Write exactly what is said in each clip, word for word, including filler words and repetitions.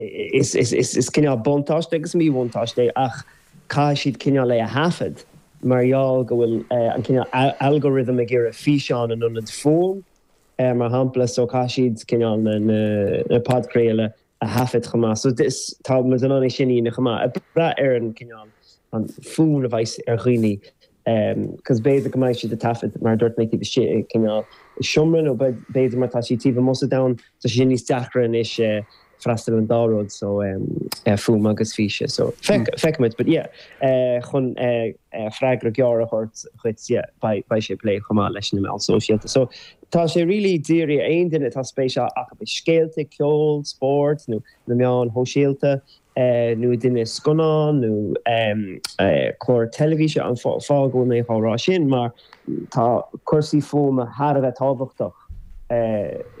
Is is is is cineál buntáiste agus míbhuntáiste ach caithfidh siad cineál é a thaifead mar gheall go bhfuil an cineál algorithm ag iarraidh físeán in ionad fuaim mar shampla so caithfidh siad cineál na na podchraoladh a thaifead chomh maith. So this tá muid in ann é sin a dhéanamh chomh maith. Ag brath ar an cineál an fonn a bheas ar dhaoine cos b'fhéidir go mbeidh siad ag taifead mar a dúirt mé taobh istigh i cineál seomra nó b'fhéidir mar tá siad taobh amuigh sa domhan tá sé níos deacra anois freastal an dá rud so fuaim agus físe so feicfimid but yeah chun freagra gearr a thabhairt dhuit yeah beidh sé ag plé chomh maith leis na meáin sóisialta so tá sé really dírithe aon duine atá spéis acu i scéalta ceol spórt nó na meáin shóisialta nó duine scannán nó clár teilifíse an fáth go bhfuil mé á rá sin mar tá cúrsaí fuaime thar a bheith tábhachtach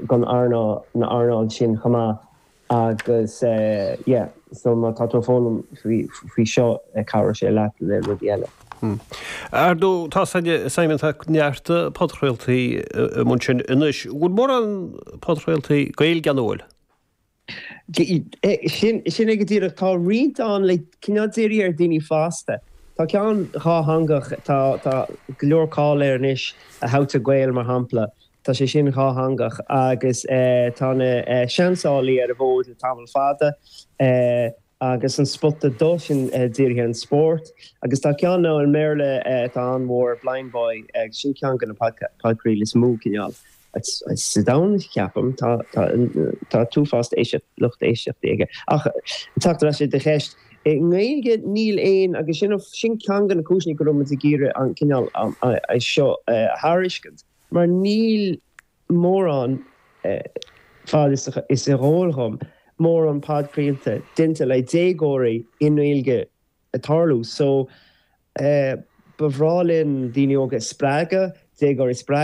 don earnáil na earnáil sin chomh maith agus yeah so má tá tú ag foghlaim faoi faoi seo cabhróidh sé leat le rudaí eile. Ar ndóigh tá Simon tá neart podchraoltaí i mbun sin anois. Bhfuil mórán podchraoltaí Gaeilge ann bhfuil? Sin sin é go díreach tá roinnt ann le cineál dírithe ar daoine fásta. Tá ceann dhátheangach tá tá go leor cáil air anois a How to Gael mar shampla. Tá sé sin dhátheangach agus tá na seansálaí ar an bhfód le tamall fada agus an Spota Dubh sin dírithe ar an spórt. Agus tá ceann ann i mBéarla atá an-mhór Blindboy sin ceann de na podchraoltaí is mó cineál sa domhan ceapaim tá tá uafás éisteacht lucht éisteachta aige. Ach teacht ar ais ar do cheist i nGaeilge níl aon agus sin sin ceann de na cúiseanna go raibh muid ag iarraidh an cineál seo a thairiscint. Mar níl mórán fad is is eol dhom mórán podchraolta déanta le déagóirí i nGaeilge ag tarlú so ba bhreá linn daoine óga spreagadh déagóirí spreagadh